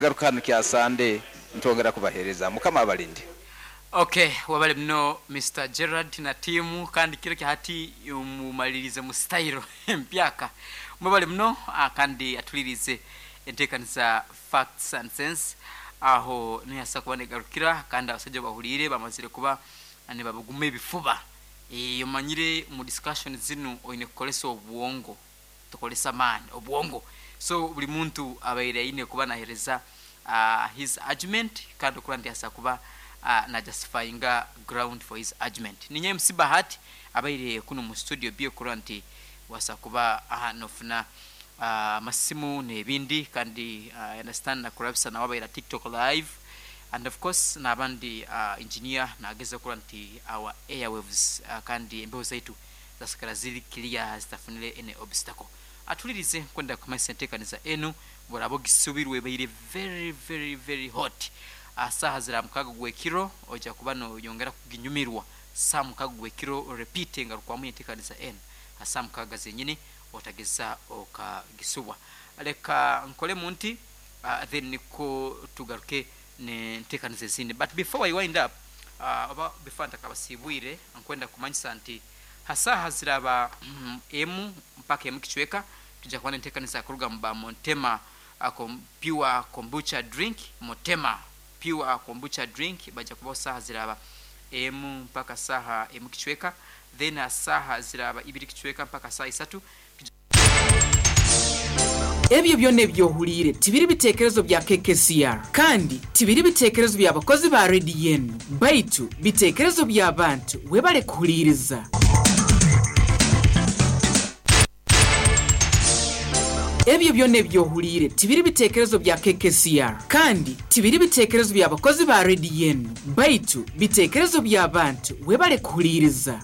Garuka hanu kya Sande nitwongera kubahereza. Mukama abalinde. Ok webale muno Mister Gerald na team kandi kiro kya hati mumalirize mu style empyaka. Mwebale muno kandi atulirize entekaniza Facts and Sense aho niho yasa kuba negarukira kandi abasaija obahuliire bamazire kuba nibabuguma ebifuba. Omanyire omu discussion zinu oine kukoresa obwongo. Tukoresa amaani, obwongo. So buri muntu abaire aine kuba nahereza his argument kandi okuba nti asobola kuba na justifyinga ground for his argument. Ninye MC Bahati abaire kunu mu studio B okurora nti wasobola kuba nofuna amasimu nebindi kandi I understand nakurabisa nawe abaire aha TikTok live and of course nabandi engineer nageza kurora nti our airwaves kandi embeho zaitu zasigara ziri clear zitafunire any obstacle. Atulirize nkwenda kumanyisa entekaniza enu bworaba ogisubirwe ebaire very very very hot. Aha saaha zira mukaga gwekiro oija kuba noyongera kuginyumirwa saaha mukaga gwekiro repeat engarukwamu yentekaniza enu aha saaha mukaga zenyini otageza okagisubwa. Leka nkolemu nti then nikwo tugaruke nentekaniza ezindi but before I wind up oba before ntakabasibwire nkwenda kumanyisa nti Ha saaha ziraaba emu mpaka emu kicweka, twija kuba n'enteekaniza kuruga mu ba Montema Pure Kombucha Drink, Motema Pure Kombucha Drink, baija kubaho saaha ziraaba emu mpaka saaha emu kicweka, then ha saaha ziraaba ibiri kicweka mpaka saaha isatu, twija. Ebyo byona ebi ohuliire tibiri bitekerezo bya KKCR kandi tibiri bitekerezo bya bakozi ba rediyo enu, baitu bitekerezo by'abantu. Webale kuhuliiriza. Ebyo byona ebi ohuliire tibiri bitekerezo bya KKCR kandi tibiri bitekerezo bya bakozi ba rediyo enu, baitu bitekerezo by'abantu. Webale kuhuliiriza.